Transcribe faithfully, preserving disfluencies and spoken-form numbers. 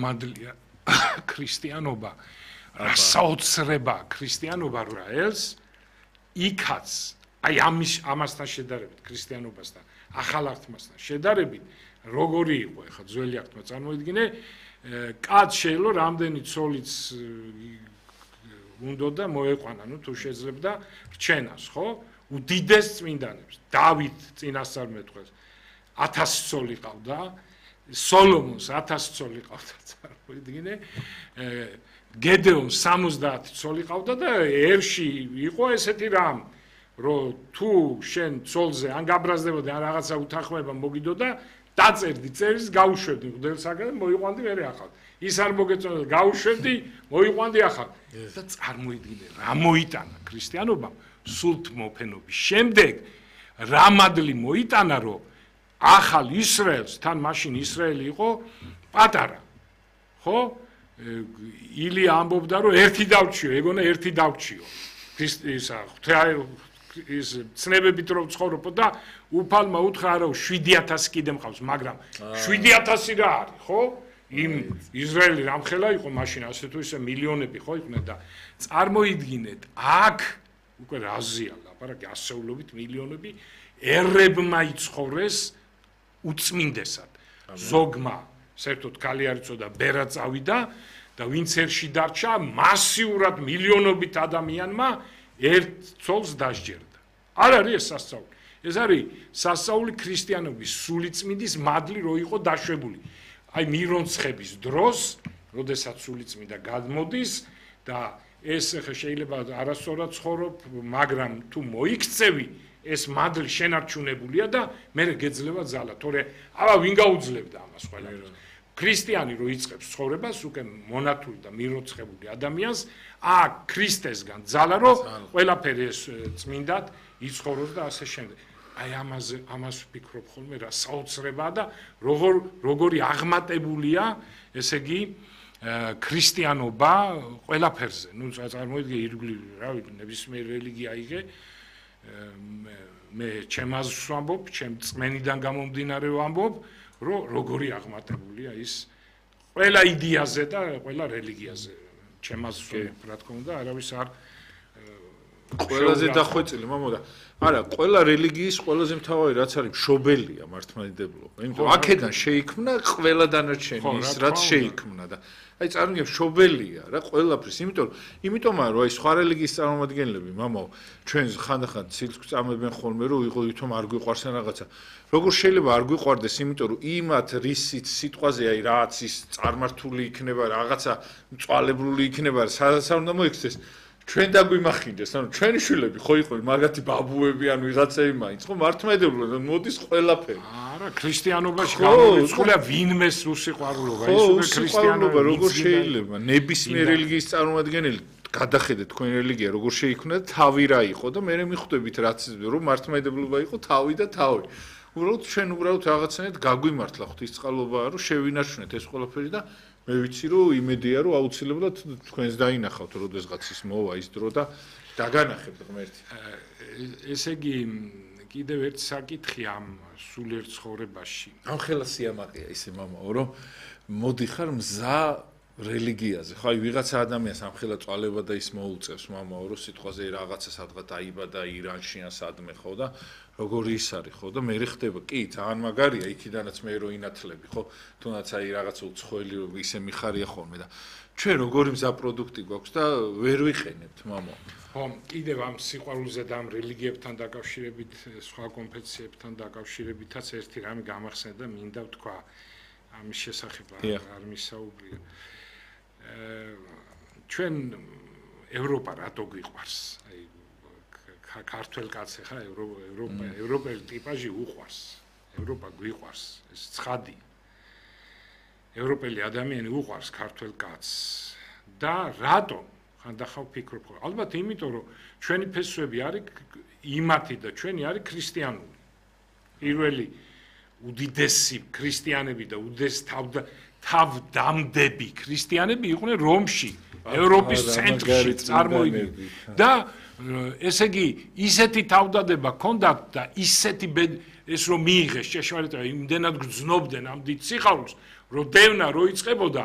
რამადლია ქრისტიანობა, რა საოცრება ქრისტიანობა რა ელს იქაც აი ამის ამასთან შედარებით ქრისტიანობასთან ახალ აღთმასთან შედარებით როგორი იყო ახლა ძველი აღთმა წარმოიდგინე კაც შეიძლება რამდენი ცოლიც უნდა და მოეყვანა ნუ თუ შეძლებდა რჩენას ხო უდიდეს წმინდანებს დავით წინასწარმეტყველს ათასი ცოლი ყავდა სოლომონს ათასი ცოლი ყავდა წარმოიდგინე გედეონს სამოცდაათი ცოლი ყავდა და ერში იყო ესეთი რამ რომ თუ შენ ცოლზე ან გაბრაზდებოდი ან რაღაცა უთანხმოება მოგიდოდა დაწერდი წერის გაუშვებდი მღვდელსაგან მოიყვანდი მერე ახალ ის არ მოგეწონდა გაუშვებდი მოიყვანდი ახალ და წარმოიდგინე რა მოიტანა ქრისტიანობამ სულთ მოფენობის შემდეგ რა მადლი მოიტანა რომ ახალ ისრაელს თან მაშინ ისრაელი იყო პატარა ხო ილია ამბობდა რომ ერთი დავჩიო ეგონა ერთი დავჩიო ისა ის ცნებებით რომ ცხოვრობ და უფალმა უთხრა რომ შვიდი ათასი კიდე მყავს მაგრამ შვიდი ათასი რა არის ხო იმ ისრაელი რამხელა იყო მაშინ ასე თუ ისე მილიონები ხო იყვნენ და წარმოიდგინეთ აქ უკვე რაზია ლაპარაკი ასეულობით მილიონები ერებმა იცხოვრეს უწმინდესად ზოგმა საერთოდ ქალი არ იცოდა ბერა წავიდა და ვინც ერში დარჩა მასიურად მილიონობით ადამიანმა ერთ ცოლს დასჯერდა არ არის ეს სასწაული ეს არის სასწაული ქრისტიანობის სულიწმინდის მადლი რო იყო დაშვებული აი მირონცხების დროს როდესაც სულიწმინდა გადმოდის და ეს ხა შეიძლება არასწორად ცხოვრობ მაგრამ თუ მოიქცევი ეს მადლი შენარჩუნებულია და მე გეძლება ძალა თორე აბა ვინ გაუძლებდა ამას ყველაფერს ქრისტიანი რო იწყებს ცხოვრებას უკვე მონათული და მიროცხებული ადამიანს აქ ქრისტესგან ძალა რო ყველაფერი ეს წმინდად იცხოვროს და ასე შემდეგ აი ამაზე ამას ვფიქრობ ხოლმე რა საოცრებაა და როგორ როგორი აღმატებულია ესე იგი ქრისტიანობა ყველაფერზე ნუ წარმოიდგინე ირგვლივ რა ვიცი ნებისმიერ რელიგია იღე მე ჩემს ვამბობ ჩემ წმენიდან გამომდინარე ვამბობ რომ როგორი აღმატებულია ის ყველა იდეაზე და ყველა რელიგიაზე ჩემს რა თქმა უნდა არავის არ ყველაზე დახვეწილი მამო და არა ყველა რელიგიის ყველაზე მთავარი რაც არის მშობელია მართლმადიდებლობა იმიტომ აქედან შეიქმნა ყველა დანარჩენი ის რაც შეიქმნა და აი წარმოგიდგენთ მშობელია რა ყველაფრის იმიტომ იმიტომაა რომ აი სხვა რელიგიის წარმომადგენლები მამო ჩვენ ხანდახან ცილს წამებენ ხოლმე რომ იყო ვითომ არ გვიყვარს ან რაღაცა როგორ შეიძლება არ გვიყვარდეს იმიტომ რომ იმათ რისიც სიტყვაზე აი რაც ის წარმართული იქნება რაღაცა მწვალებლული იქნება სადაც არ უნდა მოიქცეს ჩვენ დაგვიმახინდეს ანუ ჩვენი შვილები ხო იყო მაგათი ბაბუები ან ვიღაცები მაინც ხო მართლმადიდებლობა მოდის ყველაფერი არა ქრისტიანობაში გამოიწყულა ვინმეს უსიყვარულობა ის უკვე ქრისტიანობა როგორ შეიძლება ნებისმიერ რელიგიის წარმომადგენელი გადახედეთ თქვენი რელიგია როგორ შეიქმნა და თავი რა იყო და მე მიხვდებით რაც რომ მართლმადიდებლობა იყო თავი და თავი უბრალოდ ჩვენ უბრალოდ რაღაცნაირად გაგვიმართლა ღვთისწყალობაა რომ შევინარჩუნეთ ეს ყველაფერი და მე ვიცი რომ იმედია რომ აუცილებლად თქვენს დაინახავთ როდესღაც ის მოვა ის დრო და დაგანახებთ ღმერთი ესე იგი კიდევ ერთ საკითხი ამ სულიერ ცხოვრებაში ამ ხელა სიამაყეა ისე მამაო რომ მოდიხარ მზა რელიგიაზე ხო აი ვიღაცა ადამიანს ამ ხელა წვალება და ის მოუწევს მამაო რომ სიტყვაზე რაღაცა სადღაც დაიბადა ირანში ან სადმე ხო და როგორი ის არის ხო და მე ხდება კი ძალიან მაგარია იქიდანაც მე რო ინათლები ხო თუნდაც აი რაღაცა უცხოელი ისე მიხარია ხოლმე და ჩვენ როგორი მზა პროდუქტი გვაქვს და ვერ ვიყენებთ მამო ხო კიდევ ამ სიყვარულზე და ამ რელიგიებთან დაკავშირებით სხვა კონფესიებთან დაკავშირებითაც ერთი რამე გამახსენდა და მინდა ვთქვა ამის შესახებ არ მისაუბრია ჩვენ ევროპა რატო გვიყვარს აი ქართველ კაცს ხა ევროპა ევროპელი ტიპაჟი უყვარს ევროპა გვიყვარს ეს ცხადია ევროპელი ადამიანი უყვარს ქართველ კაცს და რატო ხანდახან ვფიქრობ ხოლმე ალბათ იმიტომ რომ ჩვენი ფესვები არის იმათი და ჩვენი არის ქრისტიანული პირველი უდიდესი ქრისტიანები და უდიდესი თავდამდები ქრისტიანები იყვნენ რომში ევროპის ცენტრში წარმოიდგინე და ესე იგი ისეთი თავდადება ჰქონდათ და ისეთი ეს რომ მიიღეს ჭეშმარიტება იმდენად გრძნობდნენ ამ დიდ სიხარულს რომ დევნა რო იწყებოდა